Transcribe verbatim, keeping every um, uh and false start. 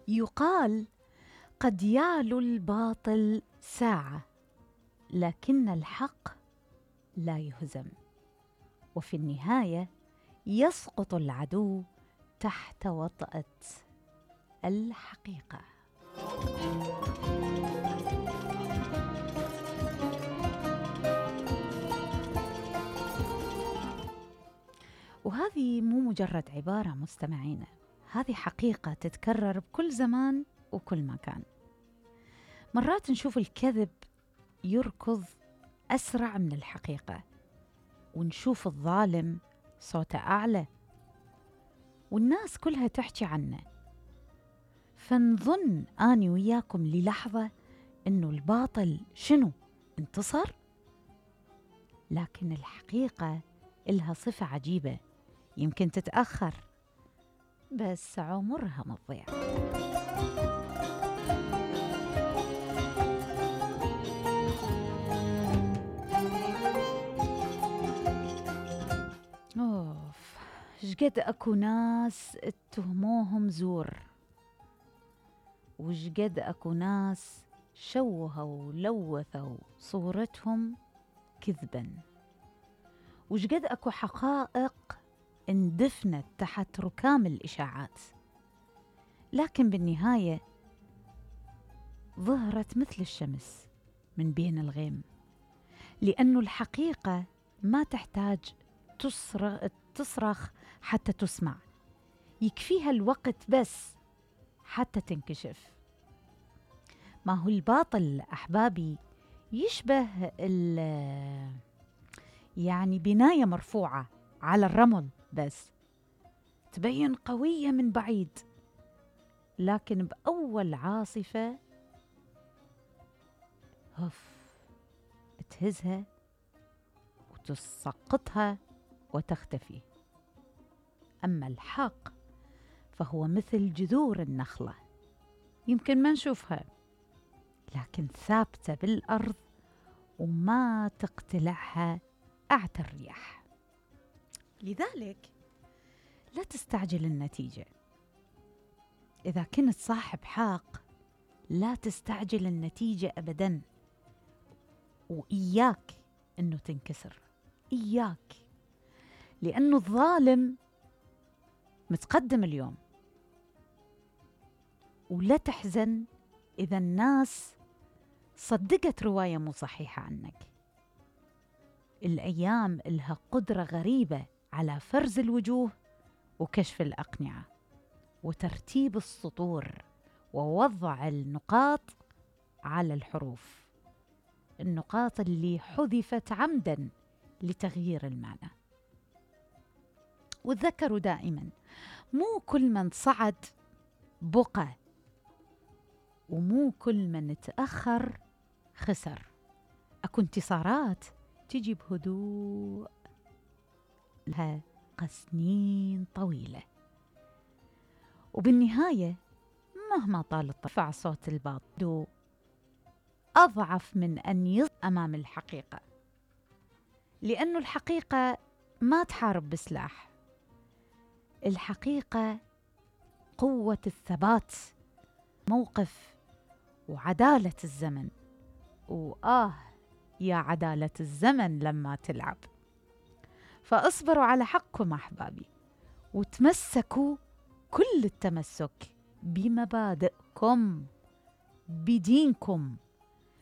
يقال: قد يعلو الباطل ساعة، لكن الحق لا يهزم، وفي النهاية يسقط العدو تحت وطأة الحقيقة. وهذه مو مجرد عبارة مستمعينا، هذه حقيقة تتكرر بكل زمان وكل مكان. مرات نشوف الكذب يركض أسرع من الحقيقة، ونشوف الظالم صوته أعلى، والناس كلها تحكي عنه، فنظن أني وياكم للحظة إنه الباطل شنو؟ انتصر؟ لكن الحقيقة إلها صفة عجيبة، يمكن تتأخر بس عمرها ما تضيع. أوف، شقد أكو ناس اتهموهم زور، وشقد أكو ناس شوهوا ولوثوا صورتهم كذباً، وشقد أكو حقائق اندفنت تحت ركام الإشاعات، لكن بالنهاية ظهرت مثل الشمس من بين الغيم، لأن الحقيقة ما تحتاج تصرخ, تصرخ حتى تسمع، يكفيها الوقت بس حتى تنكشف. ما هو الباطل أحبابي يشبه يعني بناية مرفوعة على الرمل، بس تبين قوية من بعيد، لكن بأول عاصفة هف تهزها وتسقطها وتختفي. أما الحق فهو مثل جذور النخلة، يمكن ما نشوفها لكن ثابتة بالأرض وما تقتلعها أعتى الرياح. لذلك لا تستعجل النتيجة. إذا كنت صاحب حق لا تستعجل النتيجة أبداً، وإياك أنه تنكسر، إياك، لأنه الظالم متقدم اليوم. ولا تحزن إذا الناس صدقت رواية مو صحيحة عنك. الأيام لها قدرة غريبة على فرز الوجوه وكشف الأقنعة وترتيب السطور ووضع النقاط على الحروف، النقاط اللي حذفت عمداً لتغيير المعنى. وتذكروا دائماً، مو كل من صعد بقى، ومو كل من تأخر خسر. أكو انتصارات تجي بهدوء لها سنين طويلة، وبالنهاية مهما طال ارتفع صوت الباطل أضعف من أن يظهر أمام الحقيقة، لأن الحقيقة ما تحارب بسلاح. الحقيقة قوة الثبات، موقف، وعدالة الزمن. وآه يا عدالة الزمن لما تلعب. فاصبروا على حقكم أحبابي، وتمسكوا كل التمسك بمبادئكم، بدينكم،